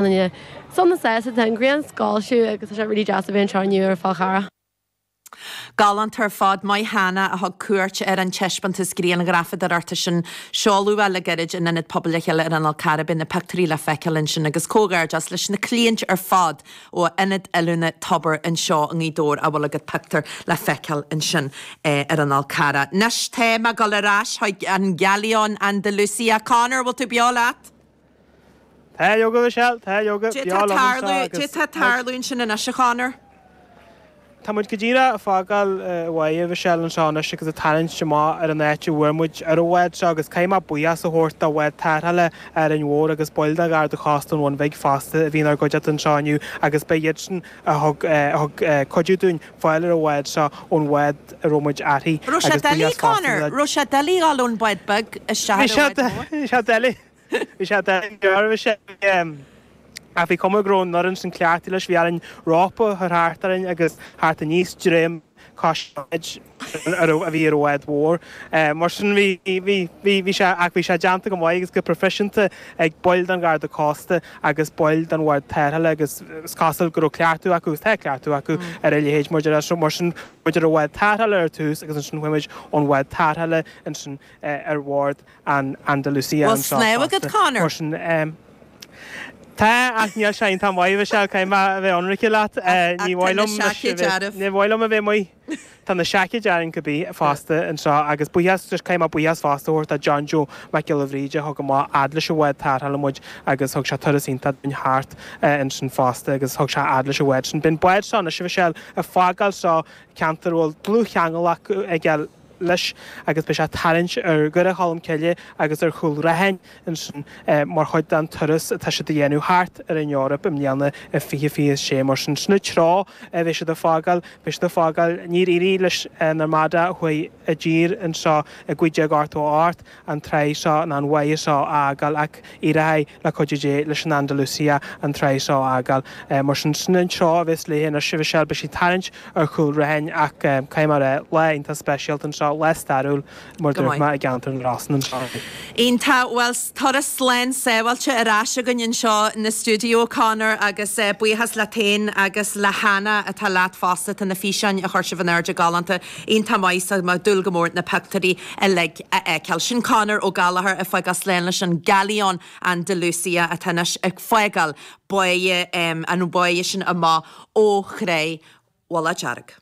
Duine sona sásta, tá an ghrian ag soilsiú agus tá sé really deas a bheith anseo inniu ar Fál Carrach. Galánta ar fad, maith Hannah a thug cuairt ar an taispeántas grianghrafadóireachta sin. Seoladh é le gairid in Ionad Pobail Le Chéile ar an Fhál Carrach. Beidh na pictiúirí le feiceáil ansin agus comhghairdeas leis na cliaint ar fad ó Ionad Oiliúna Tobar anseo i nGaoth Dobhair a bhfuil a gcuid pictiúr le feiceáil ansin ar an Fhál Carrach. Anois tá mé ag dul ar ais chuig an Galion Andalucia. Conor, bhfuil tú beo leat? Tá leoga, Michelle, tá leoga, Cad beo tá liom anseo tarlú, agus cad tá tarlú ansin anois, a Chonor? Tá muid go díreach ag fágáil an bháighe, Michelle, anseo anois agus ag tarraingt amach ar an áit a bhfuair muid ar an bhád seo agus caithfidh mé buíochas a thabhairt do bhád tarrthála Árainn Mhór agus baill de Gharda Cósta an Bhun Bhig fosta a bhí inár gcuideachta anseo inniu agus ba iad sin a thug a thug cuidiú dúinn fáil ar an bhád seo ón bhád a raibh muid uirthi Raibh sé agus doiligh, buíochas fosta Conor? le Raibh sé doiligh dhul ón bád beag isteach Bhí ar sé an bhád mór? bhí sé doiligh. Bhí sé doiligh, bhí sé, ach bhí cuma go raibh an fhoireann sin cleachtaithe leis, bhí orainn rópa a chur thart orainn agus thart aníos droim cois a raibh, a bhí ar an bhád mhór. Mar sin bhí, bhí, bhí, bhí sé, ach bhí sé déanta go maith agus go proifisiúnta ag baill den Gharda Cósta agus baill den bhád tarrthála agus is cosúil go raibh cleachtadh acu agus tá cleachtadh acu ar a leithéid mar deir, mar sin muid ar an bhád tarrthála ar tús agus ansin chuaigh muid ón bhád tarrthála ansin ar bhord an Andalucia Bhfuil anseo snámh agat, fosta. Conor? Mar sin, tá, ach níl sé iontach maith, Michelle, caithfidh mé a bheith ionraice leat. Ach Ní tá mhaith na liom anois a seaicéid bheith, dearbh. ní mhaith liom a bheith amuigh. Tá na seaicéid orainn cibé fosta anseo agus buíochas, just caithfidh mé buíochas fosta a thabhairt do John Joe Mac Giolla Bhríde a thug amach fhad leis an bhád tarrthála muid agus thug sé turas iontach dúinn thart ansin fosta agus thug sé fhad leis an bhád sin. Beidh an bád seo anois, a Mhichelle, ag fágáil seo ceantar a bhfuil dlúthcheangal acu aige leis agus beidh sé ag tarraingt ar Dhoire Cholm Cille agus ar Chúil Raithin ansin mar chuid den turas atá siad a dhéanamh thart ar an Eoraip i mbliana i 2026. Mar sin, sin an treo a bheidh siad ag fágáil. Beidh siad ag fágáil, níor éirigh leis an Armada a chuaigh i dtír anseo i 1588, an tráigh seo ná an bháighe seo a fhágáil ach éireoidh le cuidiú Dé leis an Andalucia an tráigh seo a fhágáil. Mar sin, sin an treo a bheas léi anois, a Mhichelle. Beidh sí ag tarraingt ar Chúil Raithin ach caithfidh mé a rá, lá iontach speisialta anseo, lá stairiúil mar Go dúirt maith. mé i gceantar na Rosann anseo. Iontach. Bhuel, turas slán sábháilte ar ais againn anseo na stiúideo, Conor, agus buíochas leat féin agus le Hannah atá leat fosta. Tá na físeáin a chuir sibh in airde galánta. Iontach maith so mé ag dúil go mór na pictiúirí uilig a fheiceáil. Sin Conor Ó Gallchóir ag fágáil slán leis an Galion Andalucia atá anois ag fágáil báighe, an bháighe sin amach ó Thráigh Mhullach Dearg.